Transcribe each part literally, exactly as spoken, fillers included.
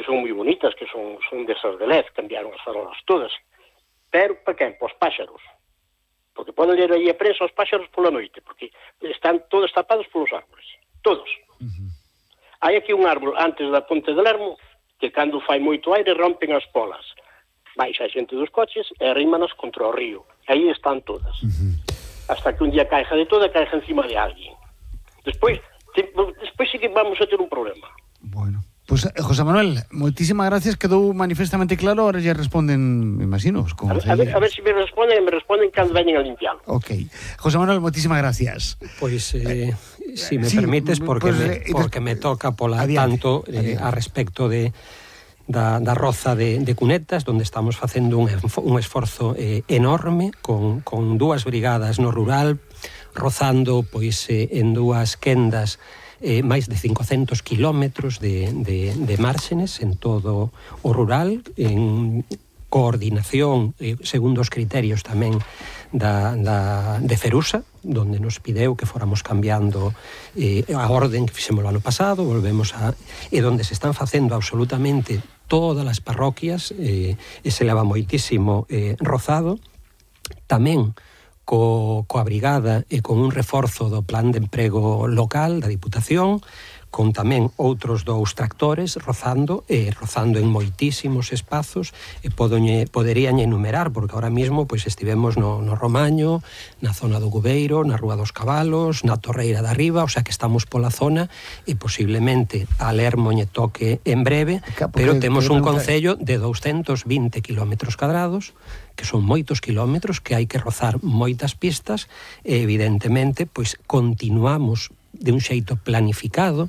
son moi bonitas, que son, son desas de L E D, cambiaron as farolas todas. Pero, para quen? Para os páxaros. Porque poden ler aí a prensa aos páxaros pola noite, porque están todos tapados polos árboles. Todos. Uh-huh. Hai aquí un árbol antes da Ponte de Lermo, que cando fai moito aire rompen as polas. Baixa a xente dos coches e arrímanas contra o río. Aí están todas. Uh-huh. Hasta que un día caixa de toda, caixa encima de alguén. Despois, te, despois sí que vamos a ter un problema. Bueno. Pois, pues, José Manuel, moitísimas gracias, quedou manifestamente claro, ahora ya responden, me imagino. A ver, a, ver, a ver se si me responden, me responden cando veñen a limpiarlo. Ok. José Manuel, moitísimas gracias. Pois, pues, eh, eh, si me sí, permites, porque, pues, me, porque me toca pola adiante, tanto eh, a respecto de da, da roza de, de Cunetas, donde estamos facendo un, un esforzo eh, enorme con, con dúas brigadas no rural, rozando pois eh, en dúas quendas Eh, máis de cincocentos kilómetros de, de, de márxenes en todo o rural, en coordinación eh, segundo os criterios tamén da, da, de Ferusa, donde nos pideu que fóramos cambiando eh, a orden que fixemos o ano pasado, volvemos a... e donde se están facendo absolutamente todas as parroquias, eh, e se leva moitísimo eh, rozado, tamén co, coa brigada e con un reforzo do plan de emprego local da Diputación, con tamén outros dous tractores rozando, e rozando en moitísimos espazos, e podoñe, poderían enumerar, porque ahora mismo pois, estivemos no, no Romaño, na zona do Cubeiro, na Rúa dos Cabalos, na Torreira da Riba, o sea que estamos pola zona, e posiblemente a Lermo lle toque en breve, pero temos un concello de doscientos vinte kilómetros cadrados, que son moitos kilómetros, que hai que rozar moitas pistas, e evidentemente, pois, continuamos de un xeito planificado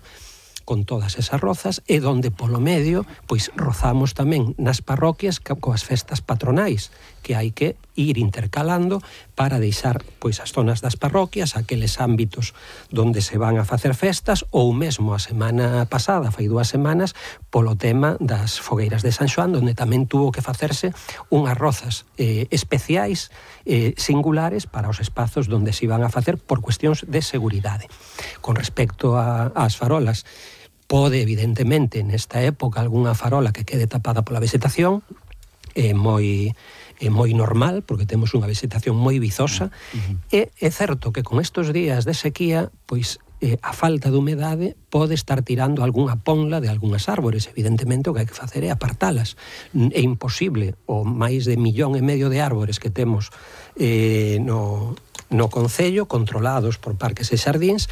con todas esas rozas, e donde polo medio, pois, rozamos tamén nas parroquias coas festas patronais, que hai que ir intercalando para deixar, pois, as zonas das parroquias, aqueles ámbitos donde se van a facer festas, ou mesmo a semana pasada, fai dúas semanas, polo tema das fogueiras de San Xoán, donde tamén tuvo que facerse unhas rozas eh, especiais, eh, singulares, para os espazos donde se iban a facer por cuestións de seguridade. Con respecto a, ás farolas, pode, evidentemente, nesta época, algunha farola que quede tapada pola vegetación, é moi, é moi normal, porque temos unha vegetación moi vizosa, uh-huh. e é certo que con estes días de sequía, pois, eh, a falta de humedade pode estar tirando algunha ponla de algunhas árbores. Evidentemente, o que hai que facer é apartalas. É imposible, o máis de millón e medio de árbores que temos eh, no, no concello, controlados por parques e xardíns,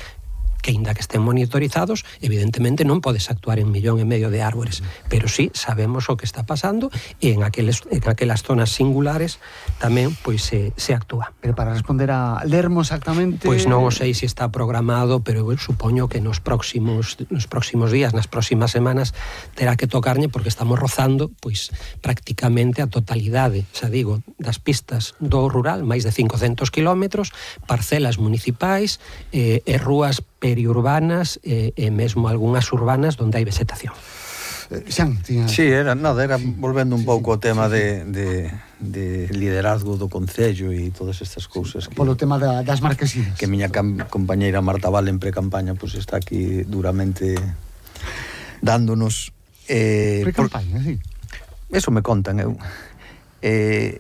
que ainda que estén monitorizados, evidentemente non podes actuar en millón e medio de árbores, pero sí sabemos o que está pasando, e en aqueles, en aquelas zonas singulares tamén pois se, se actúa. Pero para responder a Lermo exactamente... Pois non o sei se está programado, pero eu supoño que nos próximos, nos próximos días, nas próximas semanas, terá que tocarlle, porque estamos rozando pois prácticamente a totalidade, xa digo, das pistas do rural, máis de cincocentos kilómetros, parcelas municipais eh, e rúas periurbanas e, e mesmo algunhas urbanas onde hai vegetación. Eh, Xan, tiña... Sí, era, nada, era volvendo un sí, pouco ao sí, tema sí. De, de, de liderazgo do Concello e todas estas cousas que, polo tema da, das marquesinas, que miña cam, compañeira Marta Val en pre-campaña pues, está aquí duramente dándonos eh, pre-campaña, por... sí. Eso me contan eu eh,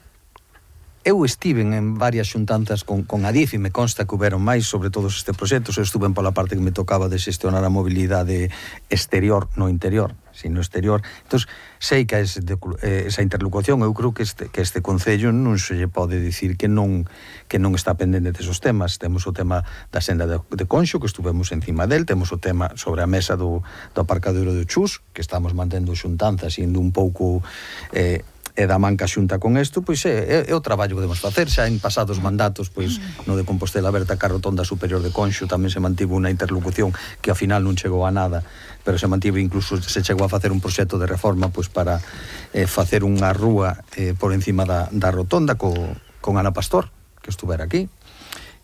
Eu estiven en varias xuntanzas con, con Adif e me consta que houberon máis sobre todos estes proxectos. Eu estuve pola parte que me tocaba de xestionar a mobilidade exterior, no interior, sino exterior. Entón, sei que ese, eh, esa interlocución, eu creo que este, que este Concello non se lle pode dicir que non, que non está pendente desos temas. Temos o tema da senda de, de Conxo, que estuvemos encima del, temos o tema sobre a mesa do, do aparcadoiro de Chus, que estamos mantendo xuntanzas, indo un pouco... Eh, e da manca xunta con isto, pois é, é o traballo que debemos facer. Xa en pasados mandatos, pois no de Compostela Aberta, ca rotonda superior de Conxo, tamén se mantivo unha interlocución que ao final non chegou a nada, pero se mantivo, incluso se chegou a facer un proxecto de reforma pois para eh, facer unha rúa eh, por encima da, da rotonda co, con Ana Pastor, que estuvera aquí.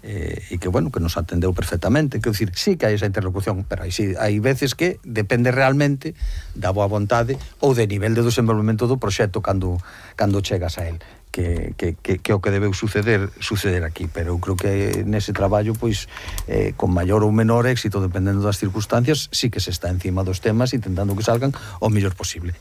Eh, e que, bueno, que nos atendeu perfectamente. Quero dicir, sí que hai esa interlocución, pero hai, sí, hai veces que depende realmente da boa vontade ou de nivel de desenvolvemento do proxecto cando, cando chegas a él, que, que, que, que o que debeu suceder suceder aquí. Pero eu creo que nese traballo, pois, eh, con maior ou menor éxito, dependendo das circunstancias, sí que se está encima dos temas intentando que salgan o mellor posible.